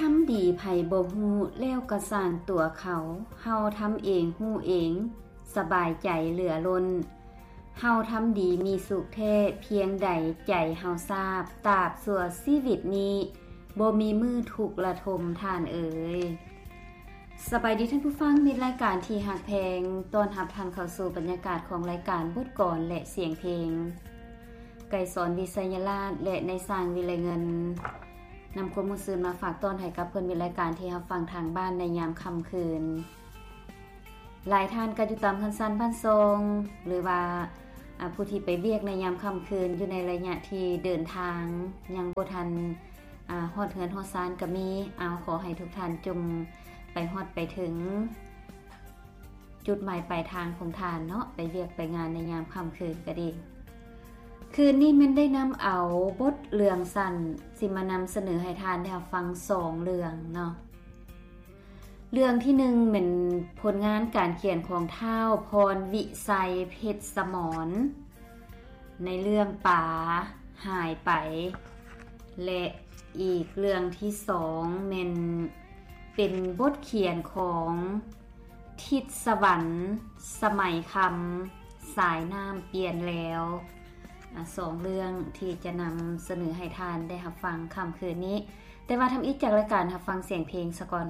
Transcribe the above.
ທຳດີໃຜບໍ່ຮູ້ ແລ້ວກໍຊ່າງຕົວເຂົາ, ເຮົາທຳເອງຮູ້ເອງ, ສະບາຍໃຈເຫຼືອລົ້ນ. ເຮົາທຳດີມີສຸກແທ້ ພຽງໃດໃຈເຮົາຊາບ, ຕາບຊົ່ວຊີວິດນີ້ ບໍ່ມີມື້ທຸກລະທົມທ່ານເອີຍ. ສະບາຍດີທ່ານຜູ້ຟັງ, ມິດລາຍການທີ່ຮັກແພງ, ຕ້ອນຮັບທ່ານເຂົ້າສູ່ບັນຍາກາດຂອງລາຍການບົດກອນ ແລະ ສຽງເພງ. ໄກສອນ ວິໄຊຍະລາດ ແລະ ນາຍຊ່າງ ວິໄລເງິນ ນຳຄວາມມ່ວນຊື່ນມາຝາກຕ້ອນໃຫ້ກັບເພື່ອນມິດລາຍການທີ່ຮັບຟັງທາງບ້ານໃນຍາມຄ່ຳຄືນ. ຫຼາຍທ່ານກໍຢູ່ຕາມເຮືອນຊານບ້ານຊ່ອງ ຫຼືວ່າ ອາ ຜູ້ທີ່ໄປວຽກໃນຍາມຄ່ຳຄືນ ຢູ່ໃນໄລຍະທີ່ເດີນທາງຍັງບໍ່ທັນ ອາ ຮອດເຮືອນຮອດຊານກໍມີ. ເອົາ ຂໍໃຫ້ທຸກທ່ານຈົ່ງໄປຮອດໄປເຖິງ ຈຸດໝາຍປາຍທາງຂອງທ່ານເນາະ, ໄປວຽກໄປງານໃນຍາມຄ່ຳຄືນກໍດີ. ຄືນນີ້ແມ່ນໄດ້ນຳເອົາບົດເລື່ອງສັ້ນ ຊິມານຳສະເໜີໃຫ້ທ່ານໄດ້ຮັບຟັງສອງເລື່ອງເນາະ. ເລື່ອງທີໜຶ່ງແມ່ນຜົນງານການຂຽນຂອງທ້າວ ພອນວິໄຊ ເພັດສະໝອນ ໃນເລື່ອງປາຫາຍໄປ ແລະ ອີກເລື່ອງທີສອງແມ່ນເປັນບົດຂຽນຂອງທິດສະຫວັນ ສະໄໝຄຳ ສາຍນ້ຳປ່ຽນແລ້ວ. ອາ ສອງເລື່ອງທີ່ຈະນຳສະເໜີໃຫ້ທ່ານໄດ້ຮັບຟັງຄ່ຳຄືນນີ້, ແຕ່ວ່າທຳອິດຈາກລາຍການຮັບຟັງສຽງເພງສາກ່ອນ.